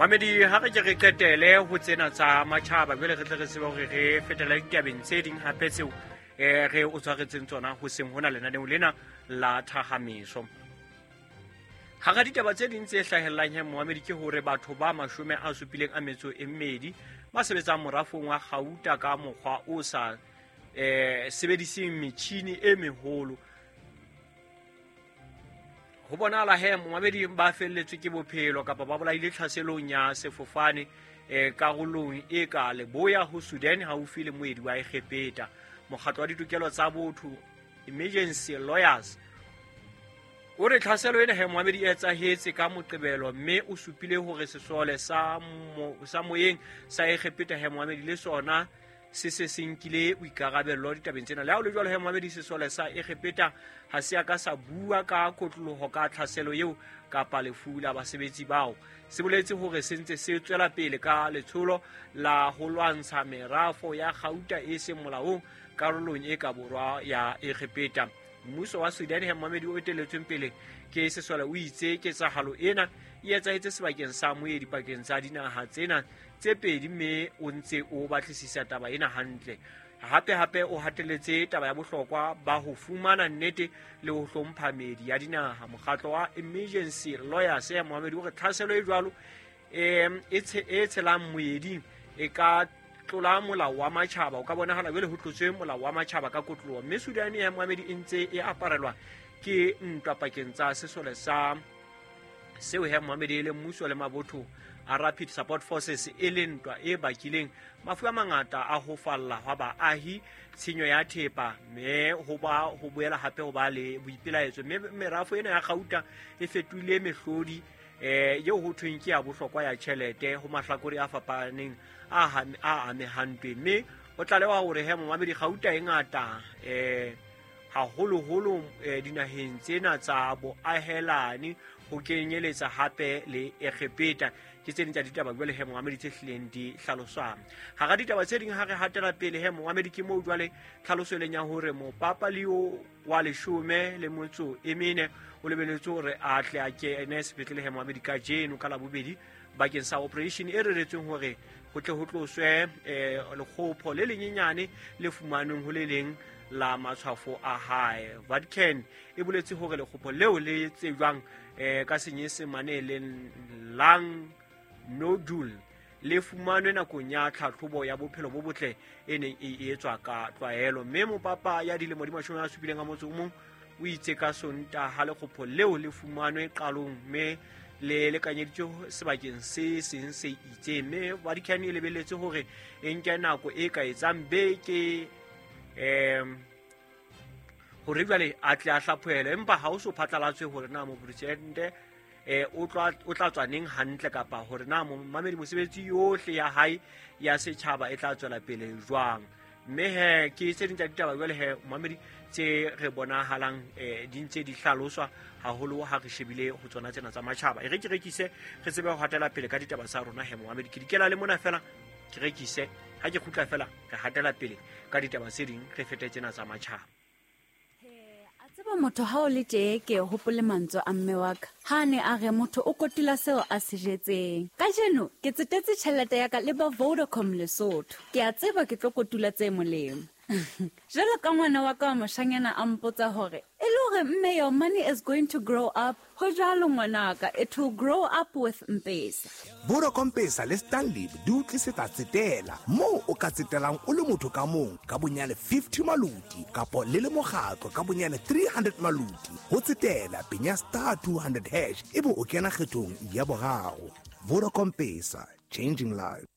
Mamedi, ha re ke re qetele ho tsena tsa matjhaba, jwale re tle re tsebe hore re fetela ditabeng tse ding hape tseo re o tshwaretseng tsona ho seng hona lenaneong lena la thahamiso. Hara ditaba tse ding tse hlahellang he moamedi ke hore batho ba 72 ba sebetsang morafong wa gauta ka mokgwa o sa sebediseng metjhini e meholo. Ho bonahala he moamedi ba felletswe ke bophelo kapa ba bolaile tlhaselong ya sefofane karolong e ka leboya ho Sudan haufi le moedi wa Egepeta. Mokgatlo wa ditokelo tsa botho Emergency Lawyers o re tlhaselo ena he moamedi e etsahetse ka Moqebelo, mme o supile hore sesole sa moyeng sa Egepeta he moamedi le sona se se se nkile boikarabello ditabeng tsena. Le ha ho le jwalo he moamedi, sesole sa Egepeta ha se a ka sa bua ka kotloloho ka tlhaselo eo kapa lefu la basebetsi bao. Se boletse hore se ntse se tswela pele ka letsholo la ho lwantsha merafo ya gauta e seng molaong karolong e ka borwa ya Egepeta. Mmuso wa Sudan he moamedi o eteletsweng pele ke sesole o itse ketsahalo ena e etsahetse sebakeng sa moedi pakeng tsa dinaha tsena tse pedi, mme o ntse o batlisisa taba ena hantle. Hape hape o hatelletse taba ya bohlokwa ba ho fumana nnete le ho hlompha meedi ya dinaha. Mokgatlo wa Emergency Lawyers ya moamedi o re tlhaselo e jwalo e tshelang moeding e ka tlola molao wa matjhaba. O ka bonahala jwale ho tlotswe molao wa matjhaba ka kotloloho, mme Sudan ya moamedi e ntse e aparelwa ke ntwa pakeng tsa sesole sa seo he moamedi e le mmuso le mabotho a Rapid Support Forces, e le ntwa e bakileng mafu a mangata a ho falla hwa baahi, tshenyo ya thepa, mme ho ba ho boela hape ho ba le boipelaetso. Mme merafo ena ya gauta e fetohile mehlodi eo ho thweng ke ya bohlokwa ya tjhelete ho mahlakore a fapaneng a amehang ntweng. Mme ho tlalewa hore he moamedi gauta e ngata haholoholo dinaheng tsena tsa boahelani, ho kenyeletsa hape le Egepeta. Ke tse ding tsa ditaba jwale he moamedi tse hlileng di hlaloswang. Hara ditaba tse ding ha re hatela pele he moamedi ke moo jwale tlhaloso e leng ya hore mopapa Leo wa 14 o lebeletse hore a tle a kene sepetlele he moamedi kajeno ka Labobedi bakeng sa operation e reretsweng hore ho tle ho tloswe lekgopho le lenyenyane le fumanweng ho le leng la matshwafo a hae. Vatican e boletse hore lekgopho leo le tsejwang ka Senyesemane le lung nodule le fumanwe nakong ya tlhatlhobo ya bophelo bo botle e neng e etswa ka tlwaelo. Mme mopapa ya dilemo di 71 o itse ka Sontaha lekgopho leo le fumanwe qalong mme le lekanyeditswe sebakeng se seng se itseng. Mme Vatican e lebelletse hore e nke nako e ka etsang beke hore jwale a tle a hlaphohele, empa ha o so phatlalatswe hore na mopresidente o tla tswa neng hantle kapa hore na mamedi mosebetsi yohle ya hae ya setjhaba e tla tswela pele jwang. Mme he ke tse ding tsa ditaba jwale he mamedi tse re bonahalang di ntse di hlaloswa haholo ha re shebile ho tsona tsena tsa matjhaba. E re ke rekise re tsebe ho hatela pele ka ditaba tsa rona he mamedi. Ke dikela le mona fela ke rekise, ha ke kgutla fela re hatela pele ka ditaba tse ding re fete tsena tsa matjhaba. Tseba motho ha o le tje ke hopole mantswe a mme wa ka ha ne a re motho o kotula seo a se jetseng. Kajeno ke tsetetse tjhelete ya ka le ba Vodacom Lesotho. Ke a tseba ke tlo kotula tse molemo. Jwalo ka ngwana wa ka wa moshanyana a mpotsa hore e le hore mme your money is going to grow up. Ho jwalo ngwanaka, it will grow up with Mpesa. Vodacom Pesa le Stanley di o tlisetsa tsetela moo o ka tsetelang o le motho ka mong ka bonyane 50 maluti kapo le le mokgatlo ka bonyane 300 maluti. Ho tsetela penya star 200 hash ebe o kena kgethong ya boraro. Vodacom Pesa, changing lives.